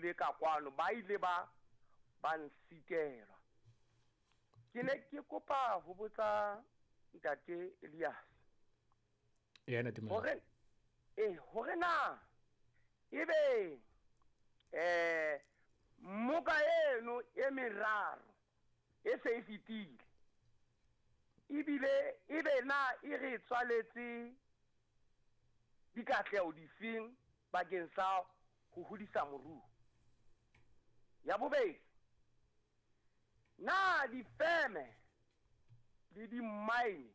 le ka kwano ba ile ba nsitelwa. Ke ne ke kopa ho botsa ntate Elias. Ya ntate Hore hore na ebe moka eno e meraro e se e fetile, ebile ebe na e re tswaletse dikatleho difeng bakeng sa ho hodisa moruo? Ya bobedi, na difeme le di-mine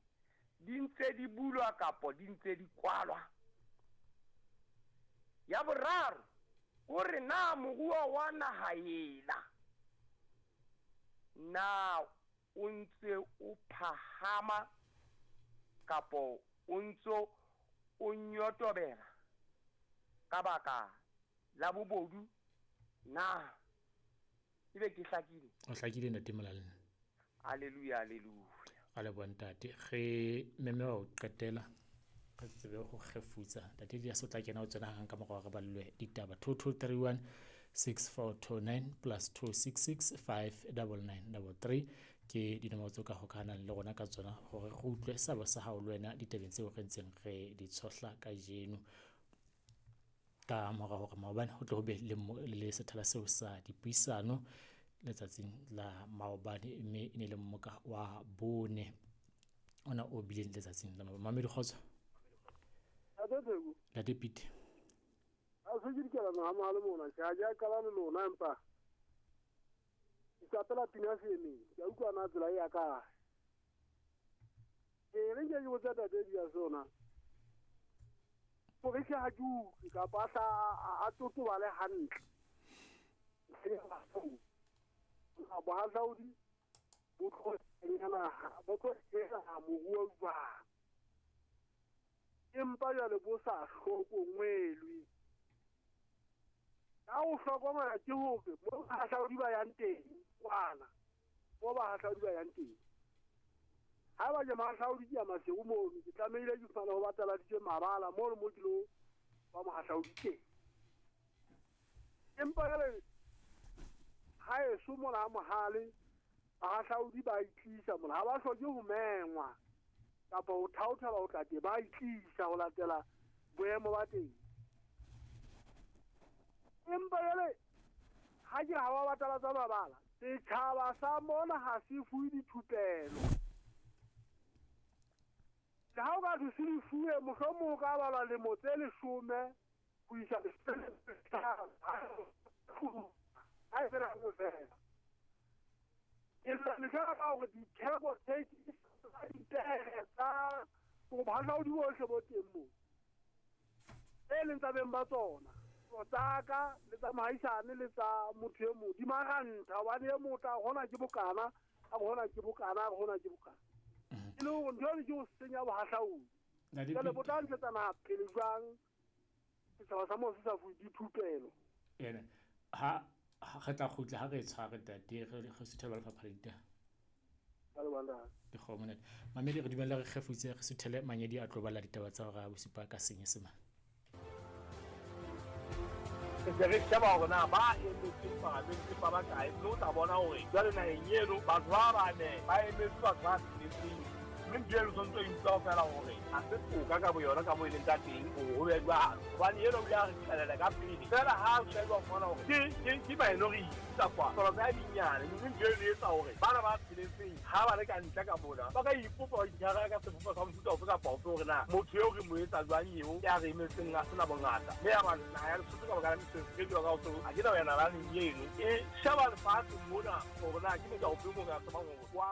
di ntse di bulwa kapa di ntse di kwalwa? Ya boraro, hore na moruo wa naha ena na o ntse o phahama kapa o ntse o nyotobela ka baka la bobodu na? Ebe ke hlakile? O hlakile ntate Molale. Hallelujah, hallelujah. A leboha ntate. Re meme wa ho qetela re tsebe ho kgefutsa. Ntate Elias o tla kena ho tsena hang ka mora hore re ballwe ditaba. 2231 6429 plus 266 59933 ke dinomoro tseo ka hokahanang le rona ka tsona hore re utlwe seabo sa hao le wena ditabeng tseo re ntseng re di tshohla kajeno. Ka mora hore maobane ho tle ho be le sethala seo sa dipuisano letsatsing la maobane, mme e ne le mmoka wa bone ona o bileng letsatsing la maobane. Mamedi kgotso. Ntate Pete. A se ke dikela ha mahalo mona, ke a ja qala le lona empa ke qapela pina semeng. Ke a utlwa na tsela ya ka. Ke re ke botsa tate di ya sona. Hore ke ha ke utlwe kapa a totobale hantle. Bohahlaudi bo tlo moruo jwang, empa jwale bo sa hlokommelwe. Ka ho hlokomela ke hore mo bahahlaudi ba yang teng kwana, mo bahahlaudi ba yang teng. Ha ba je mahahlaudi ke ya Maseru mono, ke tlamehile ke fumane ho bataladitswe mabala mono mo ke lo ba mohahlaudi teng. Empa jwale ha eso mona Mohale bahahlaudi ba itlisa mona, ha ba hloke ho mengwa kapa ho thaothelwa ho tla teng, ba itlisa ho latela boemo ba teng. Empa jwale ha ke ha ba batalatsa mabala, setjhaba sa mona ha se fuwe dithupelo. Le ha o ka thwe se di fuwe, mohlomong o ka balwa lemo tse 10 ho isa 15. Ha e fela ho fela. Ke tla ka hore ditheko tse dipere tsa bohahlaudi bohle bo teng moo, e leng tsa beng ba tsona, tsa ka le tsa mohaisane le tsa motho e mong, di maranta hobane e mong o tla hona ke bokana, a hona ke bokana, a hona ke bokana. E le hore ntho eno ke ho senya bohahlaudi. Jwale bo tla ntshetsa naha pele jwang setjhaba sa moo se sa fuwe dithupelo? Ene ha re tla kgutla ha re tshware ntate re suthela lefapha la ditaba. Dikgomo ntate. Mamedi re dumella re kgefutse re suthele Manyedi a tlo bala ditaba tsa hora ya bosupa ka Senyesemane. Re se re sheba hore na ba emetseng paramente ba bakae, mme o tla bona hore jwale naheng eno batho ba bane ba emetse batho ba tsheletseng, mme ntho eno tshwanetse o e utlwa feela hore ha se toka ka boyona ka moo e leng ka teng hore ho be jwalo, hobane eno o ile a re qhelela ka pele feela ha o sheba o fumana hore ke minority tsa kwa palo tsa dinyane, mme ntho eno e etsa hore bana ba tsheletseng ha ba le ka ntle ka mona ba ka ipopa ba itshwara ka sebopo sa mofuta ofe kapa ofe hore na motho eo re mo etsa jwang eo ya re emetseng a sena bongata, mme ya ba naha ya Lesotho ka baka la mesebetsi e jwang ka ho a ke na yona nalane eno e sheba lefatshe mona hore na ke motho ofe mo ka tsebang hore wa